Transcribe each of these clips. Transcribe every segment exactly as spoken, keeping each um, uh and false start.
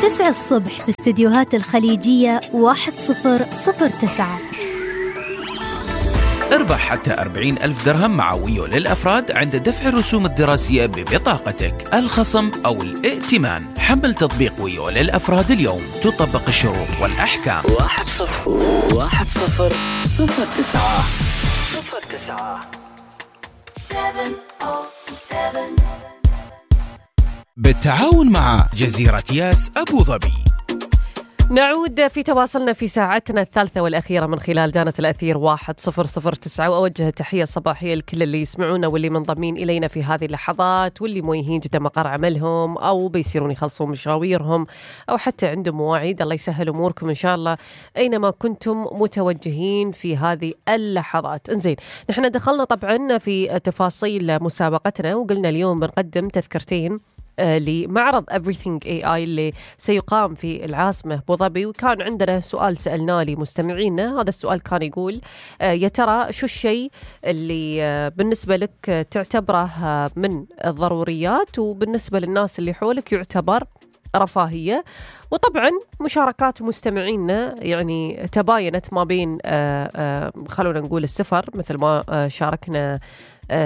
تسعة الصبح في استديوهات الخليجية واحد صفر صفر تسعة. اربح حتى أربعين ألف درهم مع ويو للأفراد عند دفع الرسوم الدراسية ببطاقتك، الخصم أو الائتمان. حمل تطبيق ويو للأفراد اليوم، تطبق الشروط والأحكام. واحد صفر واحد صفر صفر تسعة صفر تسعة. بالتعاون مع جزيرة ياس أبو ظبي. نعود في تواصلنا في ساعتنا الثالثة والأخيرة من خلال دانة الأثير واحد صفر صفر تسعة، وأوجه تحية صباحية لكل اللي يسمعونا واللي منضمين إلينا في هذه اللحظات، واللي موجهين جدا مقر عملهم أو بيصيرون يخلصون مشاويرهم أو حتى عندهم مواعيد. الله يسهل أموركم إن شاء الله أينما كنتم متوجهين في هذه اللحظات. انزين، نحن دخلنا طبعا في تفاصيل مسابقتنا وقلنا اليوم بنقدم تذكرتين لمعرض Everything إيه آي اللي سيقام في العاصمة أبو ظبي. وكان عندنا سؤال سألناه لمستمعينا، هذا السؤال كان يقول يا ترى شو الشيء اللي بالنسبة لك تعتبره من الضروريات وبالنسبة للناس اللي حولك يعتبر رفاهية. وطبعا مشاركات مستمعينا يعني تباينت ما بين خلونا نقول السفر مثل ما شاركنا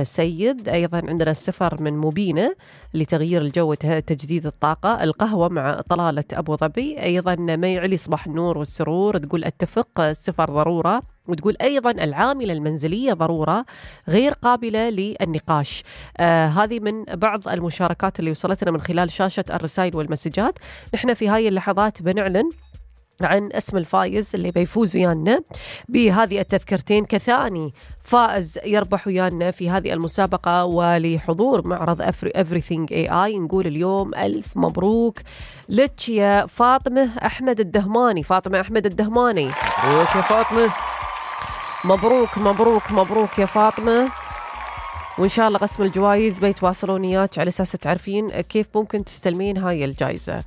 سيد، أيضا عندنا السفر من مبينة لتغيير الجو وتجديد الطاقة، القهوة مع طلالة أبو ظبي، أيضا ميعلي صباح النور والسرور تقول أتفق السفر ضرورة، وتقول أيضا العاملة المنزلية ضرورة غير قابلة للنقاش. آه هذه من بعض المشاركات اللي وصلتنا من خلال شاشة الرسائل والمسجات. نحن في هاي اللحظات بنعلن عن اسم الفائز اللي بيفوز ويانا بهذه التذكرتين كثاني فائز يربح ويانا في هذه المسابقة ولحضور معرض Everything إيه آي. نقول اليوم ألف مبروك لك يا فاطمة أحمد الدهماني. فاطمة أحمد الدهماني، مبروك يا فاطمة. مبروك مبروك مبروك يا فاطمة. وإن شاء الله قسم الجوائز بيتواصلون إياك على أساس تعرفين كيف ممكن تستلمين هاي الجائزة.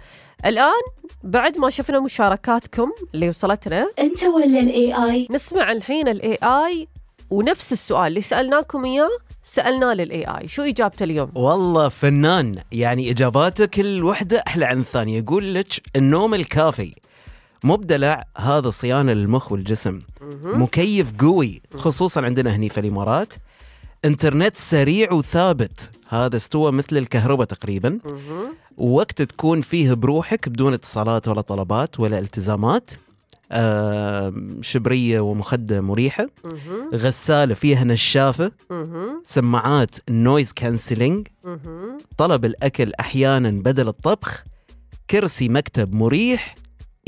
الآن بعد ما شفنا مشاركاتكم اللي وصلتنا، أنت ولا الإي آي؟ نسمع الحين الإي آي ونفس السؤال اللي سألناكم إياه سألناه للإي آي. شو إجابته اليوم؟ والله فنان، يعني إجاباته كل وحدة أحلى عن الثانية. يقول لك النوم الكافي، مبدلع هذا صيانة للمخ والجسم، مكيف قوي خصوصا عندنا هني في الإمارات، انترنت سريع وثابت، هذا استوى مثل الكهرباء تقريبا، ووقت تكون فيه بروحك بدون اتصالات ولا طلبات ولا التزامات، آه شبرية ومخدة مريحة، غسالة فيها نشافة، سماعات نويز كانسلينج، طلب الأكل أحيانا بدل الطبخ، كرسي مكتب مريح،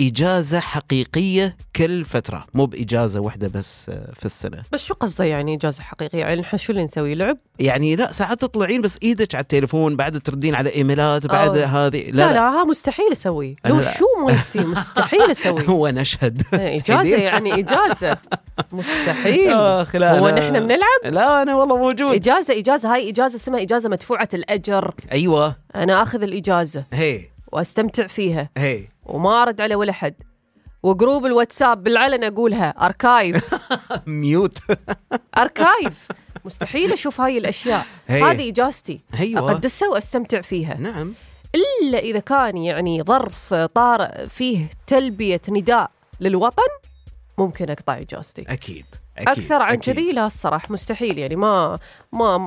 إجازة حقيقية كل فترة، مو بإجازة واحدة بس في السنة. بس شو قصده يعني إجازة حقيقية؟ يعني نحن شو اللي نسوي؟ لعب؟ يعني لا، ساعات تطلعين بس إيدك على التليفون، بعد تردين على إيميلات، بعد هذه لا لا, لا ها مستحيل أسوي. لو شو ما يصير مستحيل أسوي. هو نشهد إجازة يعني إجازة مستحيل. هو نحن بنلعب؟ لا أنا والله موجود. إجازة إجازة هاي إجازة اسمها إجازة مدفوعة الأجر. أيوة، أنا أخذ الإجازة هي واستمتع فيها، هي وما أرد على ولا حد، وجروب الواتساب بالعلن أقولها أركايف ميوت أركايف. مستحيل أشوف هاي الأشياء. هذه إجازتي، أقدسها وأستمتع فيها. نعم، إلا إذا كان يعني ظرف طارئ فيه تلبية نداء للوطن ممكن أقطع إجازتي. أكيد, أكيد. أكثر عن كذي لا الصراحة مستحيل، يعني ما ما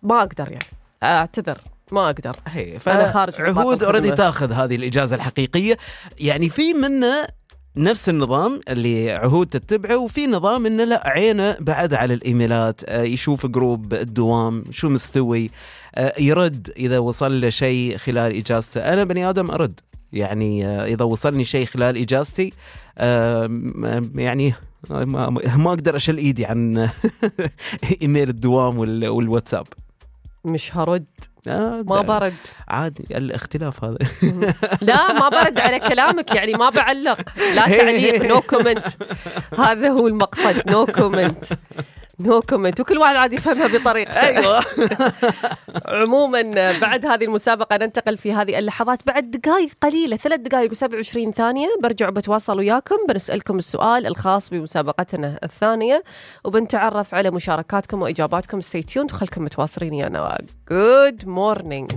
ما أقدر، يعني أعتذر ما أقدر. هي فأنا خارج عهود أريد تأخذ هذه الإجازة الحقيقية. يعني في منه نفس النظام اللي عهود تتبعه، وفي نظام إنه لا عينه بعد على الإيميلات، يشوف جروب الدوام شو مستوي، يرد إذا وصل له شيء خلال إجازته. أنا بني آدم أرد، يعني إذا وصلني شيء خلال إجازتي يعني ما, ما أقدر أشل إيدي عن إيميل الدوام والواتساب. مش هرد، ما برد عادي، الاختلاف هذا. لا ما برد على كلامك، يعني ما بعلق، لا تعليق، نو كومنت. هذا هو المقصد، نو كومنت نو كومنت، وكل واحد عادي يفهمها بطريقته. أيوة. عموما بعد هذه المسابقة ننتقل في هذه اللحظات بعد دقائق قليلة، ثلاث دقائق وسبع وعشرين ثانية برجع بتواصل وياكم، بنسألكم السؤال الخاص بمسابقتنا الثانية، وبنتعرف على مشاركاتكم وإجاباتكم. stay tuned وخلكم متواصلين يا نواق. Good morning.